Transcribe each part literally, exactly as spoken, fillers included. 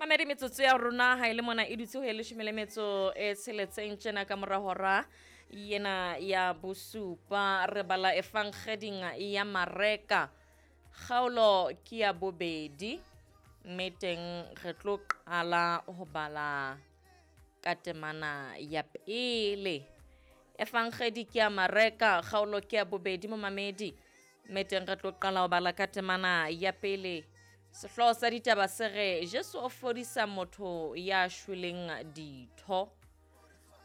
Mamedi, metsotso ya rona ha e le mona e dutse ho e leshome le metso e tsheletseng tjena ka mora hora yena ya bosupa. Re bala efankgeding ya Mareka, kgaolo ke ya bobedi, mme teng re tlo qala ho bala ka temana ya pele. Efankgedi ke ya Mareka, kgaolo ke ya bobedi, momamedi, mme teng re tlo qala ho bala ka temana ya pele. Sehlooho sa ditaba se re Jesu o fodisa motho ya shweleng ditho.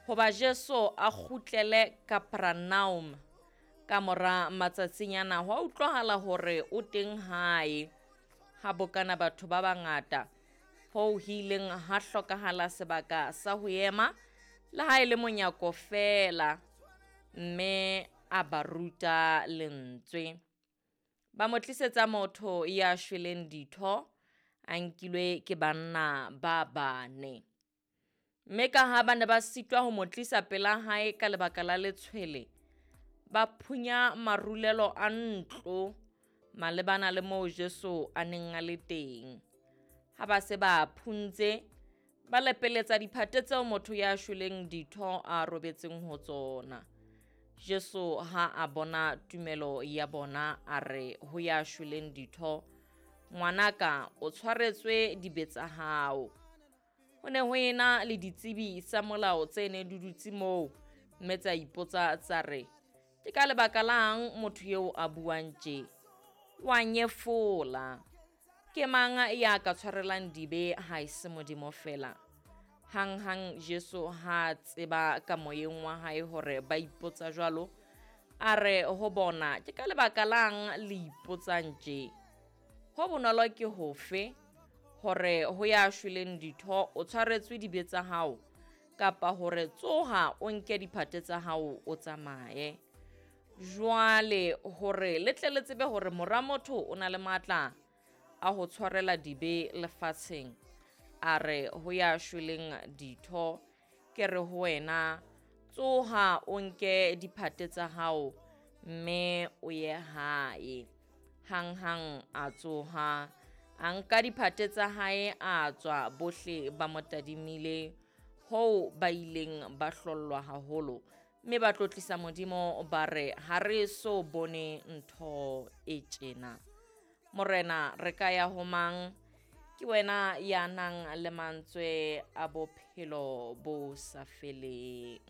Hoba Jesu a kgutlele Kapernaum ka mora matsatsinyana, ho a utlwahala hore o teng hae. Ha bokana batho ba bangata, hoo ho ileng ha hlokahala sebaka sa ho ema le ha e le monyako feela, mme a ba ruta lentswe. Ba mo tlisetsa motho ya shweleng ditho, a nkilwe ke banna ba bane. Mme ka ha ba ne ba sitwa ho mo tlisa pela hae ka lebaka la letshwele, ba phunya marulelo a ntlo malebana le moo Jesu a neng a le teng. Ha ba se ba phuntse, ba lepeletsa diphate tseo motho ya shweleng ditho a robetseng ho tsona. Jesu ha a bona tumelo ya bona, a re ho ya shweleng ditho, ngwanaka, o tshwaretswe dibe tsa hao. Ho ne ho ena le ditsebi tsa molao tse neng di dutse moo, mme tsa ipotsa tsa re, ke ka lebaka lang motho eo a buang tje? Wa nyefola. Ke mang ya ka tshwarelang dibe ha e se Modimo feela? Hanghang Jesu ha tseba ka moyeng wa hae hore ba ipotsa jwalo, a re ho bona, ke ka lebaka lang le ipotsang tje? Ho bonolo ke hofe, hore ho ya shweleng ditho o tshwaretswe dibe tsa hao, kapa hore tsoha o nke diphate tsa hao o tsamaye? Jwale hore le tle le tsebe hore mora motho o na le matla a ho tshwarela dibe lefatsheng, a re ho ya shweleng ditho, ke re ho wena, tsoha o nke diphate tsa hao mme o ye hae. Hanghang a tsoha, a nka diphate tsa hae, a tswa, bohle ba mo tadimile, hoo ba ileng ba hlollwa haholo, mme ba tlotlisa Modimo ba re, ha re so bone ntho e tjena. Morena, re ka ya ho mang? Ke wena ya nang le mantswe a bophelo bo sa feleng.